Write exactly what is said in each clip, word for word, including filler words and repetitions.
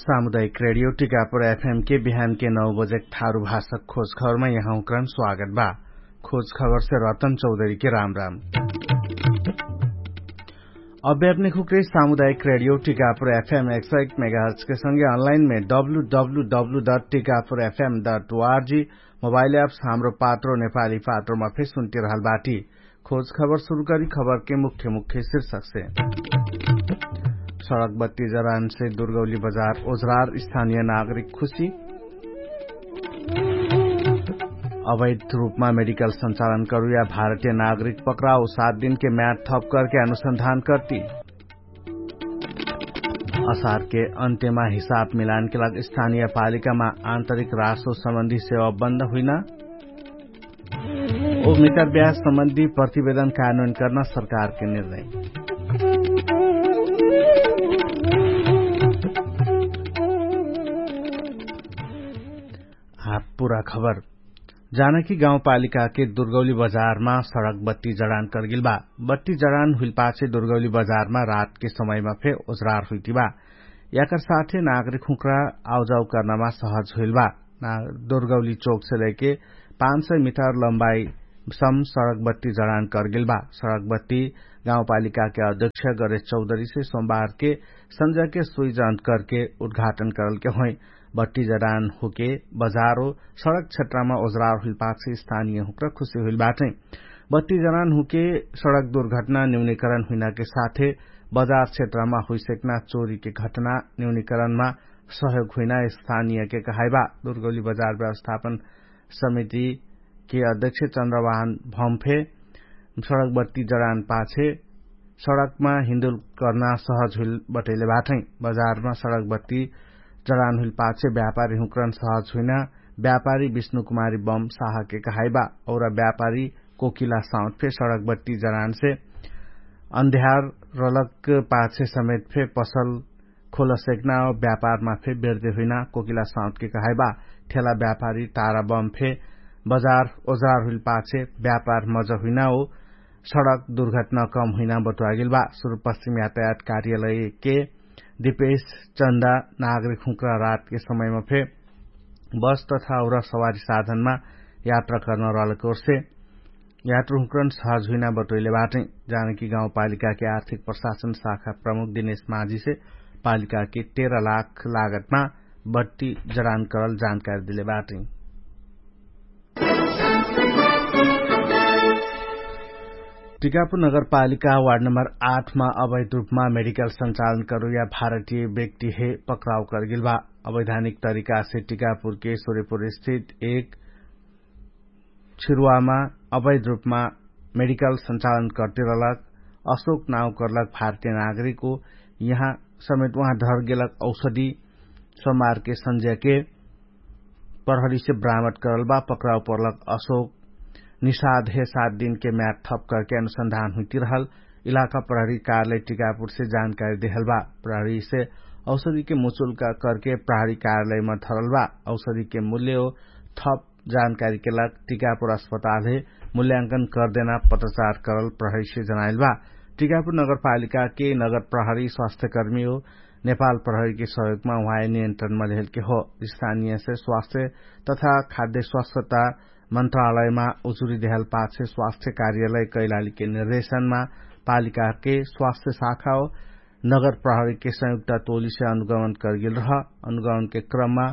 सामुदायिक रेडियो टिकापुर एफएम के बिहान के नौ बजेक थारु भाषक खोज खबरमा यहाँ उक्रन स्वागत बा। खोज खबर से रतन चौधरी के राम राम। अभ्यापने खुक्रे सामुदायिक रेडियो टिकापुर एफएम एक सौ एक मेगाहर्च के संगे अनलाइन में W W W dot Tikapur FM dot ORG mobile apps Hamro Patro नेपाली पात्रोमा फेर सुन्टिरहल बाटी। खोज खबर सुरु करी खबर के मुख्य मुख्य शीर्षक से। सडक बत्ती जरान से दुर्गौली बजार ओजरार स्थानिय नागरिक खुशी। अवैध रूपमा मेडिकल संचालन करुया भारतीय नागरिक पक्राउ सात दिनके म्याद थप करके अनुसन्धान कर्ती। असारके अन्त्यमा हिसाब मिलानके लाग स्थानिय पालिकामा आन्तरिक रासो सम्बन्धी सेवा बन्द हुइना। ओ मितार ब्याज सम्बन्धी प्रतिवेदन कानुन कर्ना सरकारके निर्णय। हात पुरा खबर। जानकी गाउँपालिकाके दुर्गौली बजारमा सडक बत्ती जडान कर्गिल बा। बत्ती जडान हुइलपाछे दुर्गौली बजारमा रातके समयमा फे ओजरार हुइतिबा। याकर साथे नागरिक हुँक्रा आउजाउ कर्नामा सहज हुइलबा। दुर्गौली चोकसे लैके पाँच सय मिटर लम्बाई सम सडक बत्ती जडान कर्गिल बा। सडक बत्ती गाउँपालिकाके अध्यक्ष गणेश चौधरीसे सोमबारके सन्जके सुइजन्त करके उद्घाटन करलके होइ। बत्ती जडान हुके बजारो सडक क्षेत्रमा ओजरार हुइलपाछे स्थानिय हुँक्रा खुशी हुइलबाटै। बत्ती जडान हुके सडक दुर्घटना न्यूनिकरण हुइनाके साथे बजार क्षेत्रमा हुइसेक्ना चोरीके घटना न्यूनिकरणमा सहयोग हुइना स्थानियके कहाइबा। दुर्गौली बजार व्यवस्थापन समितिके अध्यक्ष चन्द्रवाहन भम्फे सडक बत्ती जडान पाछे सडकमा हिन्दुल कर्ना सहज हुइल बटैले बाटै। बजारमा सडक बत्ती जडान हुइल पाछे व्यापारी हुँक्रन सहज हुइना। व्यापारी विष्णुकुमारी बम साहके कहाइबा। औरा व्यापारी कोकिला साउथ फे सडक बत्ती जडानसे अन्ध्यार रलक पाछे समेत फे पसल खोलसेक्ना व्यापारमा फे बेर्दे हुइना कोकिला साउथके कहाइबा। ठेला व्यापारी तारा बम फे बजार ओजार हुइल पाछे व्यापार मज हुइना हो। सडक दुर्घटना कम हुइना बटुवागेल बा। सुरुपश्चिम यातायात कार्यालयके दिपेश चन्दा नागरिक हुँक्रा रातके समयमा फे बस तथा उरा सवारी साधनमा यात्रा कर्न रहलक ओर्से यात्रा हुँक्रन सहज हुइना बटोइले बाटै। जानकी गाउँपालिकाके आर्थिक प्रशासन शाखा प्रमुख दिनेश माझीसे पालिकाके तेह्र लाख लागतमा बट्टी जडान करल जानकारी दिले बाटै। टिकापुर नगरपालिका वार्ड नम्बर आठमा अवैध रूपमा मेडिकल सञ्चालन करुया भारतीय व्यक्ति हे पक्राउ करगेल बा। अवैधानिक तरिकासे टिकापुरके सुर्यपुर स्थित एक छिरुवामा अवैध रूपमा मेडिकल सञ्चालन कर्तिरलक अशोक नाउ कर्लक भारतीय नागरिक हो। यहाँ समेत उहाँ धरगेलक औषधी सोमारके सन्ज्याके प्रहरीसे ब्रामट करल बा। पक्राउ पर्लक अशोक निषाद हे सात दिनके म्याद थप करके अनुसन्धान हुइतिरहल इलाका प्रहरी कार्यालय टिकापुरसे जानकारी देहल बा। प्रहरीसे औषधिके मुचुल्का करके प्रहरी कार्यालयमा धरल बा। औषधिके मूल्य हो थप जानकारीके लाग टिकापुर अस्पताल हे मूल्यांकन करदेना पत्रचार करल प्रहरीसे जनाइल बा। टिकापुर नगरपालिकाके नगर प्रहरी स्वास्थ्यकर्मी हो नेपाल प्रहरीके सहयोगमा उहाँय नियन्त्रणमा लेहेलके हो। स्थानीयसे स्वास्थ्य तथा खाद्य स्वास्थ्यता मन्त्रालयमा उजुरी देहल पाछे स्वास्थ्य कार्यालय कैलालीके निर्देशनमा पालिकाके स्वास्थ्य शाखा हो नगर प्रहरीके संयुक्त टोलीसे अनुगमन करगेल रह। अनुगमनके क्रममा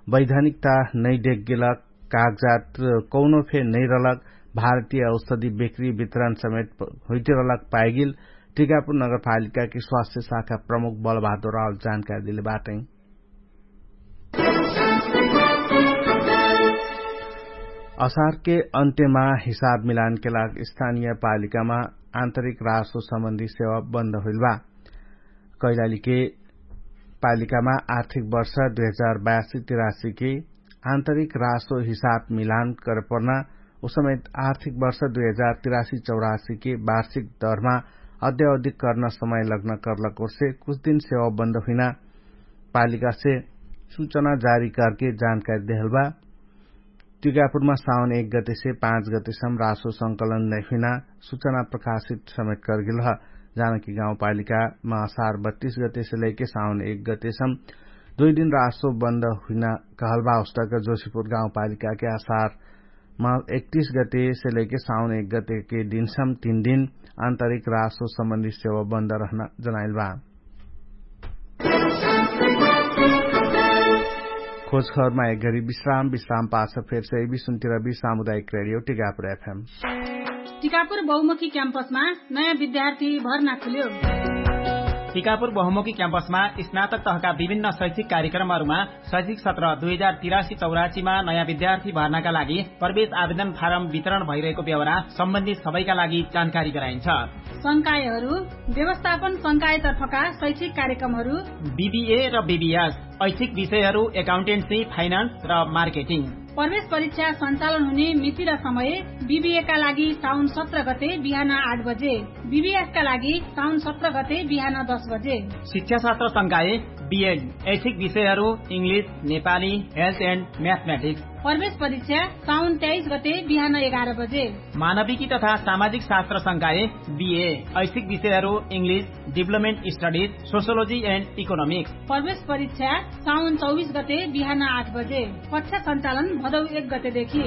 वैधानिकता नैडेकगेलक कागजात कौनो फे नैरलक भारतीय औषधी बेकरी वितरण समेत हुइतिरलक पाइगेल टिकापुर नगरपालिकाके स्वास्थ्य शाखा प्रमुख बलबहादुर रावल जानकारी देले बाटै। असारके अन्त्यमा हिसाब मिलानके लाग स्थानीय पालिकामा आन्तरिक रासो सम्बन्धी सेवा बन्द हुइल बा। कैलालीके पालिकामा आर्थिक वर्ष दुई हजार बयासी तिरासीके आन्तरिक रासो हिसाब मिलान करपर्ना उसमेत आर्थिक वर्ष दुई हजार तिरासी चौरासीके वार्षिक दरमा अद्यावधिक कर्न समय लग्न कर्लक ओर्से कुछ दिन सेवा बन्द हुइना पालिकासे सुचना जारी करके जानकारी देहल बा। टिकापुरमा साउन एक गतेसे पाँच गतेसम रासो संकलन नैफिना सुचना प्रकाशित समेत करगेल ह। जानकी गाउँपालिकामा असार बत्तीस गतेसे लैके साउन एक गतेसम दुइ दिन रासो बन्द हुइना कहलबा उस्तक जोशीपुर गाउँपालिकाके आसार मा एकतिस गते से लैके साउन एक गतेके दिनसम तीन दिन आन्तरिक रासो सम्बन्धी सेवा बन्द रहना जनाइलबा। खोजखबरमा एक घरी विश्राम विश्राम पाछ फेरसे विसुन्तिरबी सामुदायिक रेडियो टिकापुर एफएम। टिकापुर बहुमुखी क्याम्पसमा नयाँ विद्यार्थी भर्ना खुल्यो। टिकापुर बहुमुखी क्याम्पसमा स्नातक तहका विभिन्न शैक्षिक कार्यक्रमहरूमा शैक्षिक सत्र दुई हजार तिरासी चौरासीमा नयाँ विद्यार्थी भर्नाका लागि प्रवेश आवेदन फारम वितरण भइरहेको बेहोरा सम्बन्धित सबैका लागि जानकारी गराइन्छ। संकायहरू व्यवस्थापन संकायतर्फका शैक्षिक कार्यक्रमहरू बिबिए र बिबिएस, ऐच्छिक विषयहरू एकाउन्टेन्सी, फाइनान्स र मार्केटिङ। प्रवेश परीक्षा सञ्चालन हुने मिति र समय बिबिएका लागि साउन सत्र गते बिहान आठ बजे, बिबिएसका लागि साउन सत्र गते बिहान दस बजे। शिक्षाशास्त्र संकाय बिएड, ऐच्छिक विषयहरू इङ्ग्लिस, नेपाली, हेल्थ एन्ड म्याथमेटिक्स। प्रवेश परीक्षा साउन तेइस गते बिहान एघार बजे। मानविकी तथा सामाजिक शास्त्र संकाय बिए, ऐच्छिक विषयहरू इङ्ग्लिस, डिभलपमेन्ट स्टडिज, सोसियोलोजी एन्ड इकोनोमिक्स। प्रवेश परीक्षा साउन चौबिस गते बिहान आठ बजे। कक्षा सञ्चालन भदौ एक गतेदेखि।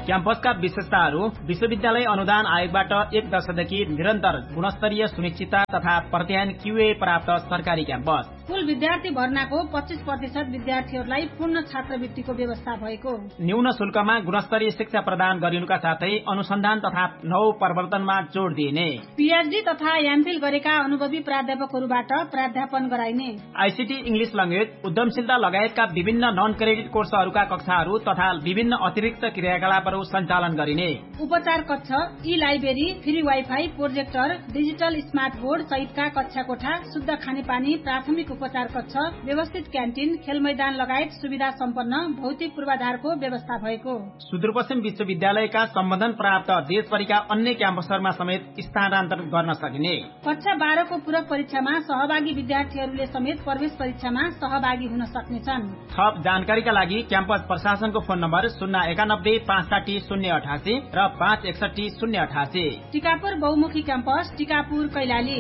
क्याम्पसका विशेषताहरू विश्वविद्यालय अनुदान आयोगबाट एक दशकदेखि निरन्तर गुणस्तरीय सुनिश्चितता तथा प्रत्यायन क्युए प्राप्त सरकारी क्याम्पस। कुल विद्यार्थी भर्नाको पच्चिस प्रतिशत विद्यार्थीहरूलाई पूर्ण छात्रवृत्तिको व्यवस्था भएको। न्यून शुल्कमा गुणस्तरीय शिक्षा प्रदान गरिनुका साथै अनुसन्धान तथा नौ प्रवर्तनमा जोड दिइने। पिएचडी तथा एमफिल गरेका अनुभवी प्राध्यापकहरूबाट प्राध्यापन गराइने। आइसिटी, इङ्ग्लिस लङ्गेज, उद्यमशीलता लगायतका विभिन्न नन क्रेडिट कोर्सहरूका कक्षाहरू तथा विभिन्न अतिरिक्त क्रियाकलापहरू सञ्चालन गरिने। उपचार कक्ष, ई library, free wifi, projector, digital smart board सहितका कक्षा कोठा, शुद्ध खानेपानी, प्राथमिक उपचार कक्ष, व्यवस्थित क्यान्टिन, खेलमैदान लगायत सुविधा सम्पन्न भौतिक पूर्वाधारको व्यवस्था भएको। सुदूरपश्चिम विश्वविद्यालयका सम्बन्धन प्राप्त देशभरिका अन्य क्याम्पसहरूमा समेत स्थानान्तरण गर्न सकिने। कक्षा बाह्रको पूरक परीक्षामा सहभागी विद्यार्थीहरूले समेत प्रवेश परीक्षामा सहभागी हुन सक्नेछन्। थप जानकारीका लागि क्याम्पस प्रशासनको फोन नम्बर शून्य एकानब्बे पाँच साठी शून्य अठासी र पाँच एकसट्ठी शून्य अठासी। टिकापुर बहुमुखी क्याम्पस, टिकापुर, कैलाली।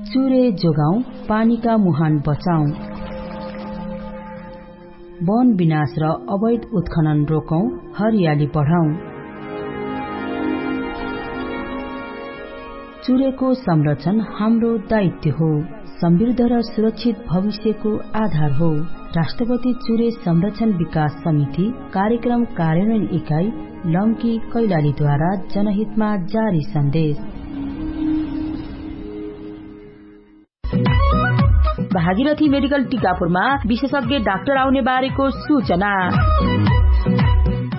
चुरे जोगाउँ, पानीका मुहान बचाउँ। वन विनाश र अवैध उत्खनन रोकौँ, हरियाली बढाउँ। चुरेको संरक्षण हाम्रो दायित्व हो, समृद्ध र सुरक्षित भविष्यको आधार हो। राष्ट्रपति चुरे संरक्षण विकास समिति, कार्यक्रम कार्यान्वयन इकाइ, लम्की, कैलालीद्वारा जनहितमा जारी सन्देश। भागीरथी मेडिकल टिकापुरमा विशेषज्ञ डाक्टर आउने बारेको सूचना।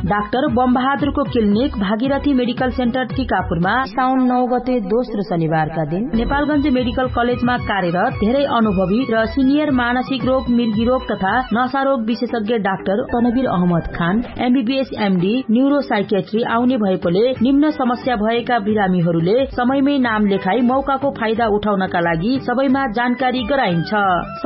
डाक्टर बमबहादुरको क्लिनिक भागीरथी मेडिकल सेन्टर टिकापुरमा साउन नौ गते दोस्रो शनिबारका दिन नेपालगञ्ज मेडिकल कलेजमा कार्यरत धेरै अनुभवी र सिनियर मानसिक रोग, मिर्गी रोग तथा नशा रोग विशेषज्ञ डाक्टर तनवीर अहमद खान, एमबीबीएस एमडी, न्युरोसाइकेट्री आउने भएकोले निम्न समस्या भएका बिरामीहरूले समयमै नाम लेखाई मौकाको फाइदा उठाउनका लागि सबैमा जानकारी गराइन्छ।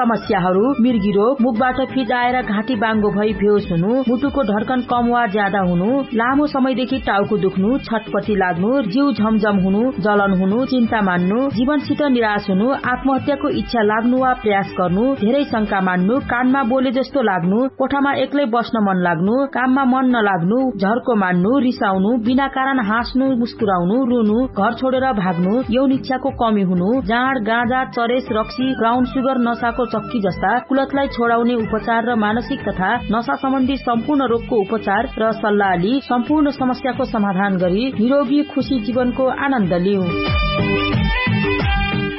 समस्याहरू मिर्गी रोग, मुखबाट फिजाएर घाँटी बाङ्गो भई बेहोस हुनु, मुटुको धड्कन कम वा ज्यादा हुनु, लामो समयदेखि टाउको दुख्नु, छटपटी लाग्नु, जिउ झमझम हुनु, जलन हुनु, चिन्ता मान्नु, जीवनसित निराश हुनु, आत्महत्याको इच्छा लाग्नु वा प्रयास गर्नु, धेरै शंका मान्नु, कानमा बोले जस्तो लाग्नु, कोठामा एक्लै बस्न मन लाग्नु, काममा मन नलाग्नु, झर्को मान्नु, रिसाउनु, बिना कारण हाँस्नु, मुस्कुराउनु, रुनु, घर छोडेर भाग्नु, यौन इच्छाको कमी हुनु, जाँड, गाँजा, चरेस, रक्सी, ब्राउन सुगर, नशाको चक्की जस्ता कुलतलाई छोडाउने उपचार र मानसिक तथा नशा सम्बन्धी सम्पूर्ण रोगको उपचार र सल्लाहली सम्पूर्ण समस्याको समाधान गरी निरोगी खुशी जीवनको आनन्द लिउ।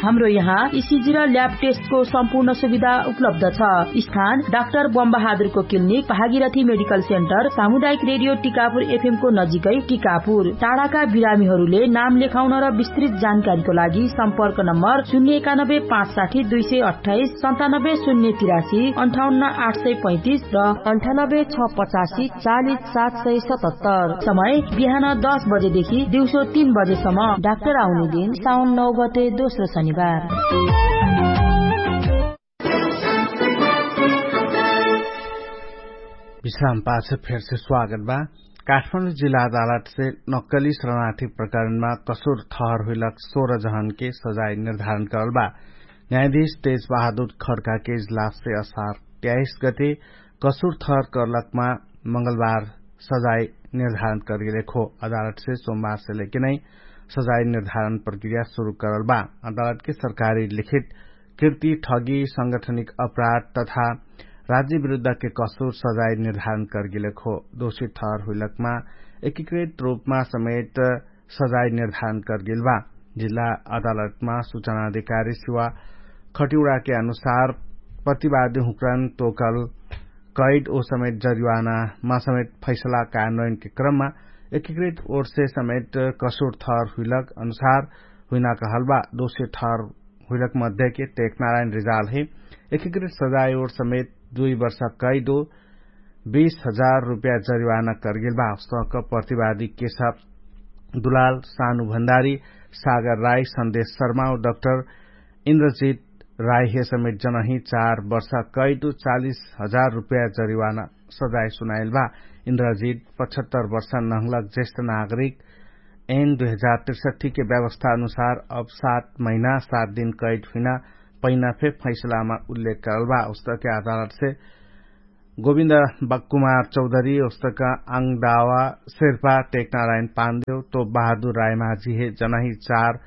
हाम्रो यहाँ इसिजी र ल्याब टेस्टको सम्पूर्ण सुविधा उपलब्ध छ। स्थान डाक्टर बमबहादुरको क्लिनिक, भागीरथी मेडिकल सेन्टर, सामुदायिक रेडियो टिकापुर एफएमको नजिकै टिकापुर। टाढाका बिरामीहरूले नाम लेखाउन र विस्तृत जानकारीको लागि सम्पर्क नम्बर शून्य एकानब्बे पाँच साठी दुई सय अट्ठाइस, सन्तानब्बे शून्य तिरासी, अन्ठाउन्न आठ सय पैँतिस र अन्ठानब्बे छ पचासी चालिस सात सय सतहत्तर। समय बिहान दस बजेदेखि दिउँसो तीन बजेसम्म। डाक्टर आउने दिन साउन नौ गते दोस्रो शनिबार। विश्राम पाछ फेरसे स्वागत बा। काठमाडौं जिल्ला अदालतसे नक्कली शरणार्थी प्रकरणमा कसुर थहर हुइलक सोह्र जहनके सजाय निर्धारण करल बा। न्यायाधीश तेज बहादुर खड्काके इजलाससे असार त्याइस गते कसुर थहर करलकमा मंगलबार सजाय निर्धारण करगेलेक हो। अदालतसे सोमबारसे लेके नै सजाय निर्धारण प्रक्रिया सुरु करल बा। अदालतके सरकारी लिखित कृति ठगी संगठनिक अपराध तथा राज्य विरुद्धके कसुर सजाय निर्धारण करगेलेक हो। दोषी थहर हुइलकमा एकीकृत रूपमा समेत सजाय निर्धारण करगेल बा। जिल्ला अदालतमा सुचना अधिकारी सिवा खटिउडाके अनुसार प्रतिवादी हुँकरन तोकल कैद ओ समेत जरिवानामा समेत फैसला कानुनके क्रममा एकीकृत ओर्से समेत कसुर थहर हुइलक अनुसार हुइना कहल बा। दोषी थहर हुइलक मध्येके टेकनारायण रिजाल हे एकीकृत सजाय ओर समेत दुइ वर्ष कैद ओ बीस हजार रुपया जरिवाना करगेल बा। अस्तक प्रतिवादी केशव दुलाल सानु भण्डारी सागर राई सन्देश शर्मा ओ डक्टर इन्द्रजित राई हे समेत जनही चार वर्ष कैद ओ चालिस हजार रुपया जरिवाना सजाय सुनाइल बा। इन्द्रजित पचहत्तर वर्ष नहलक जेष्ठ नागरिक एन दुई हजार तिरसठीके व्यवस्था अनुसार अब सात महिना सात दिन कैद हुइना पहिना फे फैसलामा उल्लेख करल बा। उस्तके अदालतसे गोविन्द बकुमार चौधरी उस्तक आङदावा शेर्पा टेकनारायण पान्देव तो बहादुर रायमाझी हे जनाही चार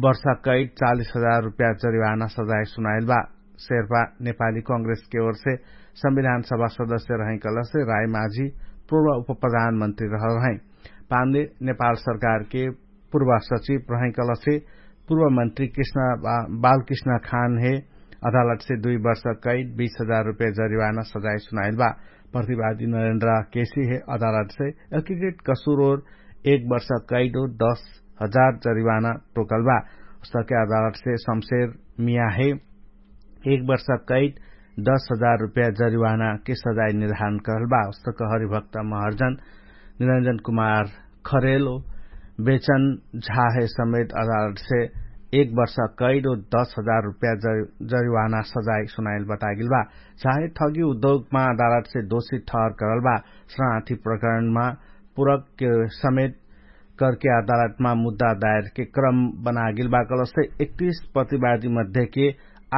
वर्ष कैद चालिस हजार रुपया जरिवाना सजाय सुनाइल बा। शेर्पा नेपाली कांग्रेसके ओरसे संविधान सभा सदस्य रहैकलसे रायमाझी पूर्व उपप्रधानमन्त्री रहल रहै। पान्देव नेपाल सरकारके पूर्व सचिव रहैकलसे पूर्व मन्त्री कृष्ण बालकृष्ण खान हे अदालतसे दुइ वर्ष कैद बीस हजार रुपया जरिवाना सजाय सुनाइल बा। प्रतिवादी नरेन्द्र केसी हे अदालतसे एकीकृत कसुर ओर एक वर्ष कैद ओ दस हजार जरिवाना टोकल बा। उस्तके अदालतसे शमशेर मिया हे एक वर्ष कैद दस हजार रुपया जरिवानाके सजाय निर्धारण करल बा। उस्तक हरिभक्त महर्जन निरंजन कुमार खरेल ओ बेचन झाहे समेत अदालतसे एक वर्ष कैद ओ दस हजार रुपया जरिवाना सजाय सुनाइल बतागेल बा। झाहे ठगी उद्योगमा अदालतसे दोषी ठहर करल बा। शरणार्थी प्रकरणमा पूरक समेत करके अदालतमा मुद्दा दायरके क्रम बनागेल बा कलसे एकतीस प्रतिवादी मध्येके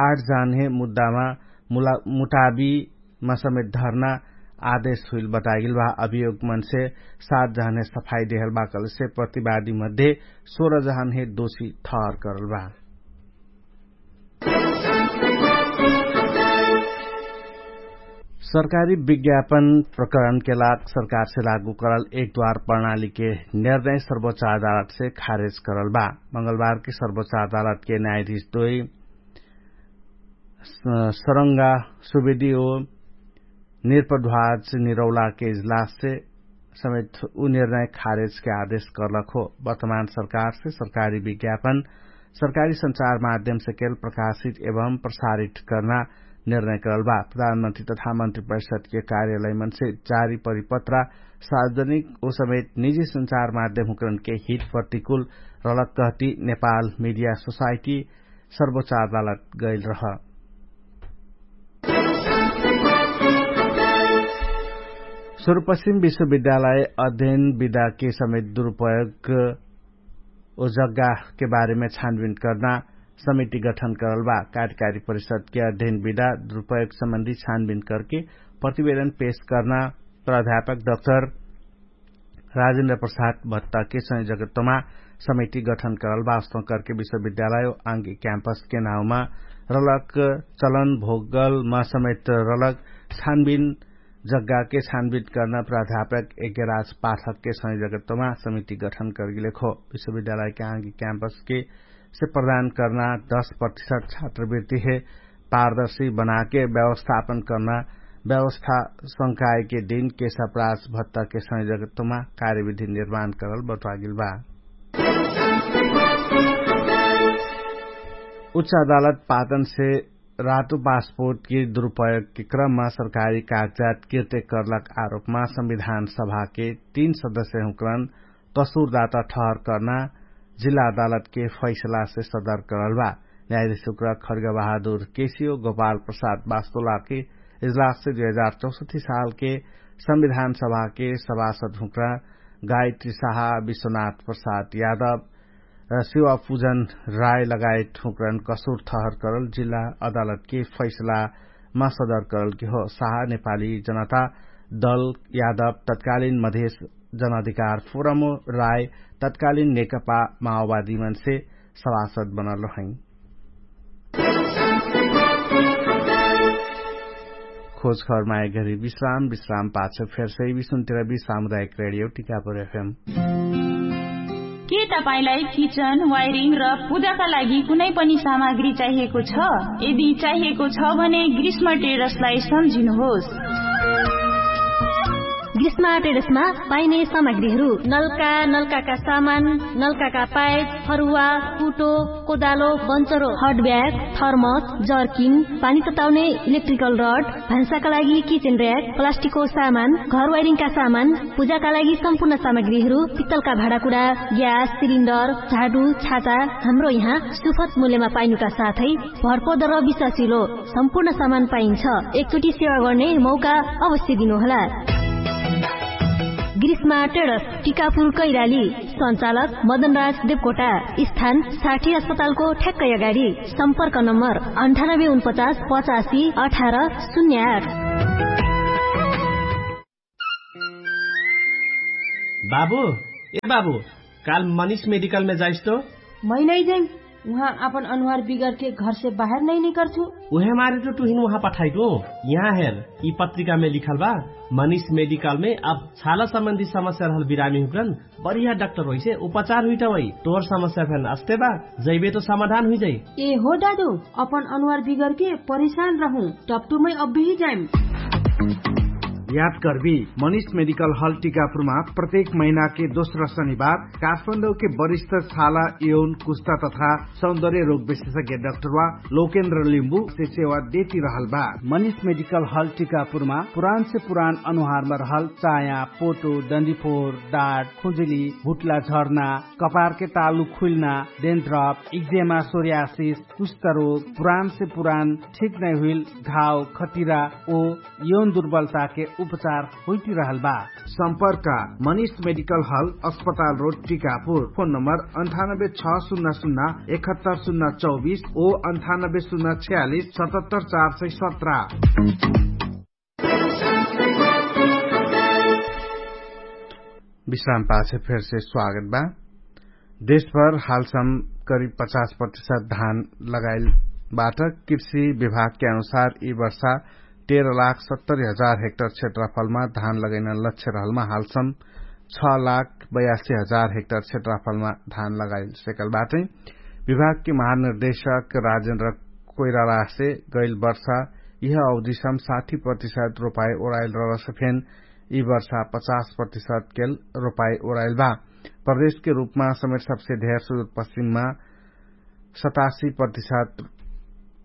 आठ जान्हे मुद्दामा मुटाबीमा समेत धर्ना आदेश हुइल बतागेल बा। अभियोगमनसे सात जान्हे सफाई देहल बा कलसे प्रतिवादी मध्ये सोह्र जान्हे दोषी ठहर करल बा। सरकारी विज्ञापन प्रकरणके लाग सरकारसे लागू करल एक द्वार प्रणालीके निर्णय सर्वोच्च अदालतसे खारेज करल बा। मंगलबारके सर्वोच्च अदालतके न्यायाधीश दोइ सरंगा सुविधि ओ निर्पध्वाज निरौलाके इजलाससे समेत उ निर्णय खारेजके आदेश करलक हो। वर्तमान सरकारसे सरकारी विज्ञापन सरकारी संचार माध्यमसे केल प्रकाशित एवं प्रसारित कर्ना निर्णय करल बा। प्रधानमन्त्री तथा मन्त्री परिषदके कार्यालयमनसे जारी परिपत्रा सार्वजनिक ओ समेत निजी संचार माध्यमहुँकरणके हित प्रतिकुल रलक कहती नेपाल मिडिया सोसाइटी सर्वोच्च अदालत गैल रह। सुरुपश्चिम विश्वविद्यालय अध्ययन विधाके समेत दुरुपयोग ओ जग्गाके बारेमे छानबिन कर्ना समिति गठन करल बा। कार्यकारी परिषदके अध्ययन विधा दुरुपयोग सम्बन्धी छानबिन करके प्रतिवेदन पेश कर्ना प्राध्यापक डक्टर राजेन्द्र प्रसाद भत्ताके संयोजकत्वमा समिति गठन करल बा। अस्तौं करके विश्वविद्यालय आंगी क्याम्पसके नाउँमा रलक चलन भोगलमा समेत रलक छानबिन जग्गाके छानबिन कर्ना प्राध्यापक यज्ञराज पाठकके संयोजकत्वमा समिति गठन करगेलेक हो। विश्वविद्यालयके आंगी क्याम्पसके से प्रदान कर्ना दश प्रतिशत छात्रवृत्तिहे पारदर्शी बनाके व्यवस्थापन कर्ना व्यवस्था संकायके दिनके सप्रास भत्ताके संयोजकत्वमा कार्यविधि निर्माण करल बटुवागेल बा। उच्च अदालत पाटनसे रातो पासपोर्टके दुरुपयोगके क्रममा सरकारी कागजात किर्ते कर्लक आरोपमा संविधान सभाके तीन सदस्यहुँकरन कसुरदाता ठहर कर्ना जिल्ला अदालतके फैसलासे सदर करल बा। न्यायाधीश उक्रा खर्गबहादुर केसियो गोपाल प्रसाद बास्तोलाके इजलाससे दुई हजार चौसठी सालके संविधान सभाके सभासद हुँक्रा गायत्री साहा, विश्वनाथ प्रसाद यादव, सेवा पुजन राय लगायत हुँक्रन कसुर ठहर करल जिल्ला अदालतके फैसलामा सदर करलके हो। साहा नेपाली जनता दल यादव तत्कालीन मधेस जनाधिकार फोरमो राय तत्कालीन नेकपा माओवादीमनसे सभासद बनल रहैं। खोजखबर माया घरी विश्राम विश्राम पाछ फेरसै विश्राम तेह्र बी सामुदायिक रेडियो टिकापुर एफएम। के तपाईंलाई किचन वायरिङ र पूजाका लागि कुनै पनि सामग्री चाहिएको छ? यदि चाहिएको छ भने ग्रीष्म टेरसलाई सम्झिनुहोस्। ग्रीष्म टेरसमा पाइने सामग्रीहरू नल्का नल्काका सामान, नल्काका पाइप, फरुवा, कुटो, कोदालो, बन्चरो, हट ब्याग, थर्मस, जर्किन, पानी तताउने इलेक्ट्रिकल रड, भान्साका लागि किचेन र्याक, प्लास्टिकको सामान, घर वाइरिङका सामान, पूजाका लागि सम्पूर्ण सामग्रीहरू, पित्तलका भाँडाकुडा, ग्यास सिलिन्डर, झाडु, छाता, हाम्रो यहाँ सुफत मूल्यमा पाइनुका साथै भरपर्दर विश्वासिलो सम्पूर्ण सामान पाइन्छ। एकचोटि सेवा गर्ने मौका अवश्य दिनुहोला। ग्रीष्मा टेडस, टिकापुर कैराली। सञ्चालक मदनराज देवकोटा। स्थान साठी अस्पतालको ठ्याक्कै अगाडि। सम्पर्क नम्बर अन्ठानब्बे उनपचास पचासी अठार शून्य आठ। बाबु, ए बाबु, काल मनिष मेडिकलमे जाइस तो? मै नै जाइ। उहाँ आपन अनुहार बिगरके घरसे बाहेर नै निकर्छु। उहे मारे तो तुहिन उहाँ पठाइटु। यहाँ हेर, यि पत्रिकामे लिखल बा, मनिष मेडिकलमे अब छाला सम्बन्धी समस्या रहल बिरामी हुकरन बढिया डाक्टर होइसे उपचार हुइटवै। तोहर समस्या फेन अस्ते बा, जैबे तो समाधान हुइजै। ए हो दादु, अपन अनुहार बिगरके परिशान रहु। टप्टुमै अब्बेही जाइम। याद कर्बी, मनिष मेडिकल हल टिकापुरमा प्रत्येक महिनाके दोस्रा शनिबार काठमाडौके वरिष्ठ छाला यौन कुस्ता तथा सौन्दर्य रोग विशेषज्ञ डाक्टरवा लोकेन्द्र लिम्बु से सेवा देती रहल बा। मनिष मेडिकल हल टिकापुरमा पुरान से पुरान अनुहारमा रहल चाया, पोटो, डन्डीफोर, डाट, खुजुली, भुटला झर्ना, कपारके तालु खुइल्ना, डेन्ड्रप, इक्जेमा, सोर्यासिस, कुष्ठरोग, पुरान से पुरान ठिक नै हुइल घाव, खटिरा ओ यौन दुर्बलताके उपचार होइटिरहल बा। सम्पर्क मनिष मेडिकल हल, अस्पताल रोड, टिकापुर। फोन नम्बर अन्ठानब्बे छ सुन्ना सुन्ना एकहत्तर सुन्ना चौबिस ओ अन्ठानब्बे सुन्ना छ्यालिस सतहत्तर चार सय सत्र। विश्राम पाछे फेरसे स्वागत बा। देशभर हालसम करिब पचास प्रतिशत धान लगाइल बाट। कृषि विभागके अनुसार यि वर्षा तेह्र लाख सत्तरी हजार हेक्टर क्षेत्रफलमा धान लगैना लक्ष्य रहलमा हालसम छ लाख बयासी हजार हेक्टर क्षेत्रफलमा धान लगाइल सेकल बाटै। विभागके महानिर्देशक राजेन्द्र कोइरालासे गैल वर्षा यिह अवधिसम साठी प्रतिशत रोपाई ओराइल रहलसे फेन यि वर्षा पचास प्रतिशत केल रोपाई ओराइल बा। प्रदेशके रूपमा समेत सबसे धेर सुदूर पश्चिममा सतासी प्रतिशत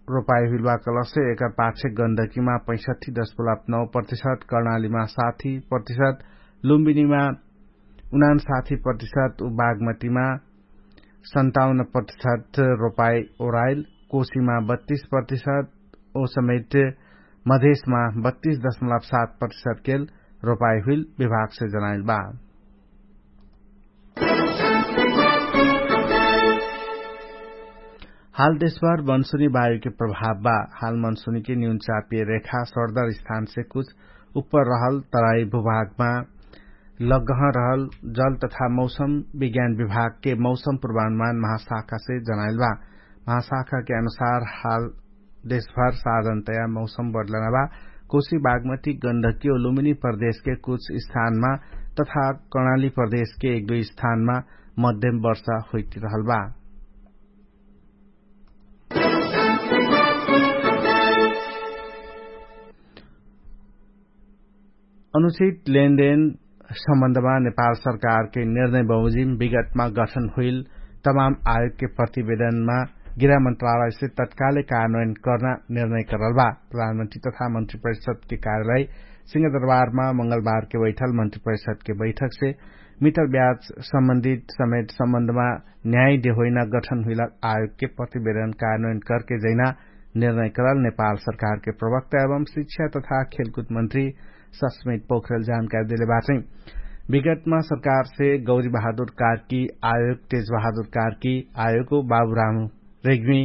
रोपाई हुइल बा कलसे एकर पाछे गन्दकीमा पैसठी दशमलव नौ प्रतिशत, कर्णालीमा साठी प्रतिशत, लुम्बिनीमा उनान साठी प्रतिशत उ बागमतीमा सन्ताउन्न प्रतिशत रोपाई ओराइल, कोशीमा बत्तीस प्रतिशत ओ समेत मधेशमा बत्तीस दशमलव सात प्रतिशत केल रोपाई हुइल विभागसे जनाइल बा। हाल देशभर मनसुनी वायुके प्रभाव बा। हाल मनसुनीके न्यून चापिय रेखा सर्दर स्थानसे कुछ उप्पर रहल तराई भूभागमा लग्गह रहल जल तथा मौसम विज्ञान विभागके मौसम पूर्वानुमान महाशाखासे जनाइल बा। महाशाखाके अनुसार हाल देशभर साधनतया मौसम बदलना बा। कोशी बागमती गन्धकी ओ लुमिनी प्रदेशके कुछ स्थानमा तथा कर्णाली प्रदेशके एक दुई स्थानमा मध्यम वर्षा होइटिरहल बा। अनुचित लेनदेन सम्बन्धमा नेपाल सरकारके निर्णय बमोजिम विगतमा गठन हुइल तमाम आयोगके प्रतिवेदनमा गृह मन्त्रालयसे तत्कालै कार्यान्वयन कर्ना निर्णय करल बा। प्रधानमन्त्री तथा मन्त्री परिषदके कार्यालय सिंहदरबारमा मंगलबारके बैठल मन्त्री परिषदके बैठकसे मिटर ब्याज सम्बन्धित समेत सम्बन्धमा न्याय देहोइना गठन हुइला आयोगके प्रतिवेदन कार्यान्वयन करके जैना निर्णय करल नेपाल सरकारके प्रवक्ता एवं शिक्षा तथा खेलकुद मन्त्री सस्मित पोखरेल जानकारी देले बाटै। विगतमा सरकारसे गौरी बहादुर कार्की आयोग तेज बहादुर कार्की आयोगको बाबुराम रेग्मी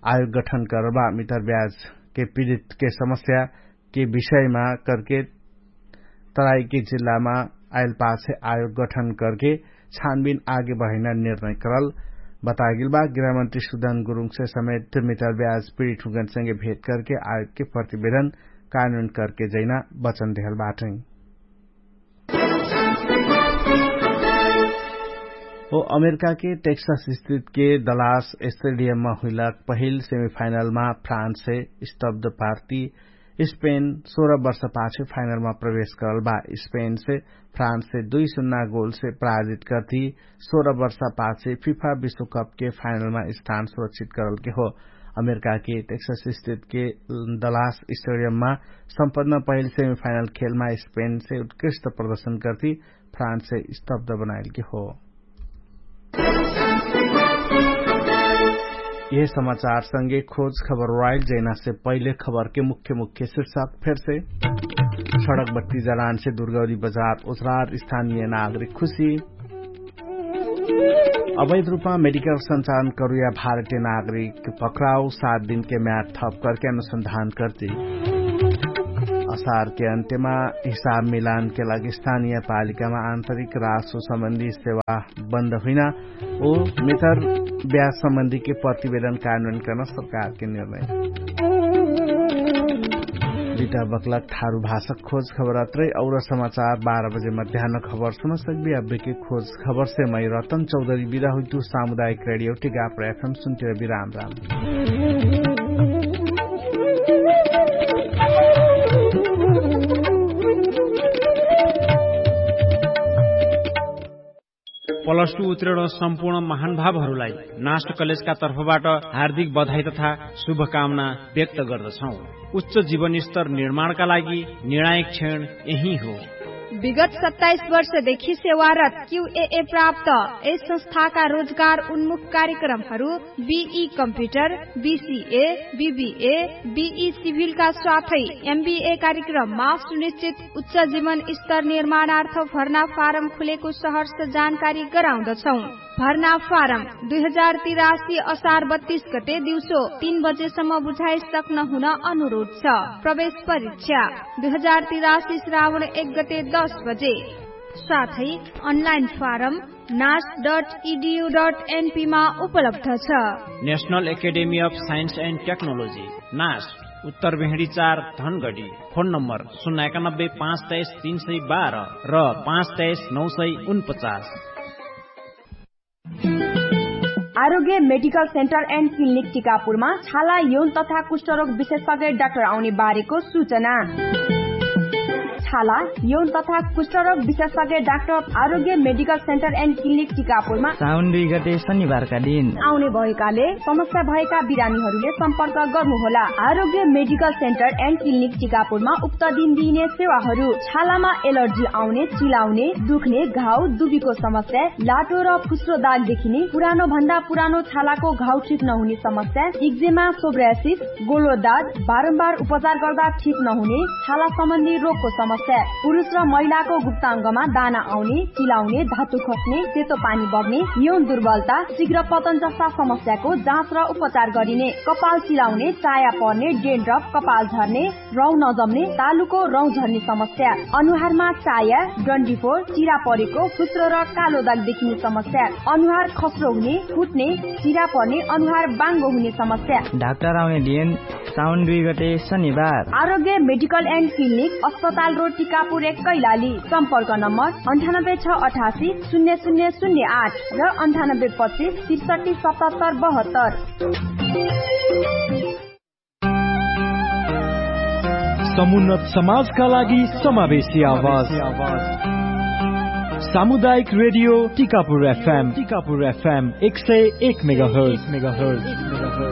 आयोग गठन करबा मितर ब्याजके पीडितके समस्याके विषयमा करके तराइकी जिल्लामा आइलपाछे आयोग गठन करके छानबिन आगे बढैना निर्णय करल बतागेल बा। गृहमन्त्री सुदन गुरुङसे समेत मितर ब्याज पीडित हुँगनसँगे भेट करके आयोगके प्रतिवेदन कानुन करके जैना वचन देहल बाटै। ओ अमेरिकाके टेक्सस स्थितके दलास स्टेडियममा हुइलक पहिल सेमिफाइनलमा फ्रान्ससे स्तब्ध पार्टी स्पेन सोह्र वर्षपाछे फाइनलमा प्रवेश करल बा। स्पेनसे फ्रान्ससे दुई सुन्ना गोलसे पराजित करती सोह्र वर्षपाछे फिफा विश्वकपके फाइनलमा स्थान सुरक्षित करलके हो। अमेरिकाके टेक्सस स्टेटके दलास स्टेडियममा सम्पन्न पहिल सेमिफाइनल खेलमा स्पेनसे उत्कृष्ट प्रदर्शन करती फ्रान्ससे स्तब्ध बनाइलके हो। यह समाचारसँगे खोज खबर वाइल जैनासे पहिले खबरके मुख्य मुख्य शीर्षक फेरसे। सडक बत्ती जलानसे दुर्गौरी बजार उजरार स्थानीय नागरिक खुशी। अवैध रूपमा मेडिकल सञ्चालन करुया भारतीय नागरिक पक्राउ सात दिनके म्याद थप करके अनुसन्धान करती। असारके अन्त्यमा हिसाब मिलानके लागि स्थानीय पालिकामा आन्तरिक रासो सम्बन्धी सेवा बन्द हुइना ओ मिथर ब्याज सम्बन्धीके प्रतिवेदन कानुन कर्न सरकारके निर्णय। बिता बक्लक थारु भाषक खोज खबर अत्रै और समाचार बाह्र बजे मध्यान्न खबर सुन सक्बी। अब्बेके खोज खबरसे मै रतन चौधरी बिदा हुइतु। सामुदायिक रेडियो टिकापुर एफएम सुन्तिर बिराम राम। प्लस टु उत्तीर्ण सम्पूर्ण महानुभावहरूलाई नास्ट कलेजका तर्फबाट हार्दिक बधाई तथा शुभकामना व्यक्त गर्दछौँ। उच्च जीवनस्तर निर्माणका लागि निर्णायक क्षण यही हो। विगत सत्ताइस वर्षदेखि सेवारत क्युएए प्राप्त यस संस्थाका रोजगार उन्मुख कार्यक्रमहरू बिई कम्प्युटर, बिसिए, बिबिए, बिई सिभिलका साथै एमबिए कार्यक्रममा सुनिश्चित उच्च जीवन स्तर निर्माणार्थ भर्ना फारम खुलेको सहर्ष जानकारी गराउँदछौँ। भर्ना फारम दुई हजार तिरासी असार बत्तीस गते दिउँसो तीन बजेसम्म बुझाइ सक्न हुन अनुरोध छ। प्रवेश परीक्षा दुई हजार तिरासी श्रावण एक गते दस बजे। साथै अनलाइन फारम नास डट इडियु डट एनपीमा उपलब्ध छ। National academy of science and technology, नास, उत्तर भेहडी चार, धनगडी। फोन नम्बर शून्य एकानब्बे पाँच तेइस तीन सय बाह्र र पाँच तेइस नौ सय उनपचास। आरोग्य मेडिकल सेन्टर एन्ड क्लिनिक टिकापुरमा छाला यौन तथा कुष्ठरोग विशेषज्ञ डाक्टर आउने बारेको सूचना। छाला यौन तथा कुष्ठरोग विशेषज्ञ डाक्टर आरोग्य मेडिकल सेन्टर एन्ड क्लिनिक टिकापुरमा साउन दुई गते शनिबारका दिन आउने भएकाले समस्या भएका बिरामीहरूले सम्पर्क गर्नुहोला। आरोग्य मेडिकल सेन्टर एन्ड क्लिनिक टिकापुरमा उक्त दिन दिइने सेवाहरू छालामा एलर्जी आउने, चिलाउने, दुख्ने, घाउ, दुबीको समस्या, लाटो र फुस्रो दाग देखिने, पुरानो भन्दा पुरानो छालाको घाउ ठिक नहुने समस्या, इक्जेमा, सोब्रासिस, गोलो दाग, बारम्बार उपचार गर्दा ठिक नहुने छाला सम्बन्धी रोगको समस्या, पुरुष र महिलाको गुप्ताङ्गमा दाना आउने, चिलाउने, धातु खस्ने, सेतो पानी बग्ने, यौन दुर्बलता, शीघ्र पतन जस्ता समस्याको जाँच र उपचार गरिने, कपाल चिलाउने, चाया पर्ने, डेन्ड्रफ, कपाल झर्ने, रौँ नजम्ने, तालुको रौँ झर्ने समस्या, अनुहारमा चाया, डन्डीफोर, चिरा परेको, फुस्रो र कालो दाग देखिने समस्या, अनुहार खस्रो हुने, फुट्ने, चिरा पर्ने, अनुहार बाङ्गो हुने समस्या। डाक्टर आउने दिन साउन दुई गते शनिबार। आरोग्य मेडिकल एन्ड क्लिनिक, अस्पताल रोड, टिकापुर एक, कैलाली। सम्पर्क नम्बर अन्ठानब्बे छ अठासी शून्य शून्य शून्य आठ र अन्ठानब्बे पच्चिस त्रिसठी सतहत्तर बहत्तर। समुन्नत समाजका लागि समावेशी आवाज। सामुदायिक रेडियो टिकापुर एफएम, टिकापुर एफएम एक सय एक मेगाहर्ट्ज।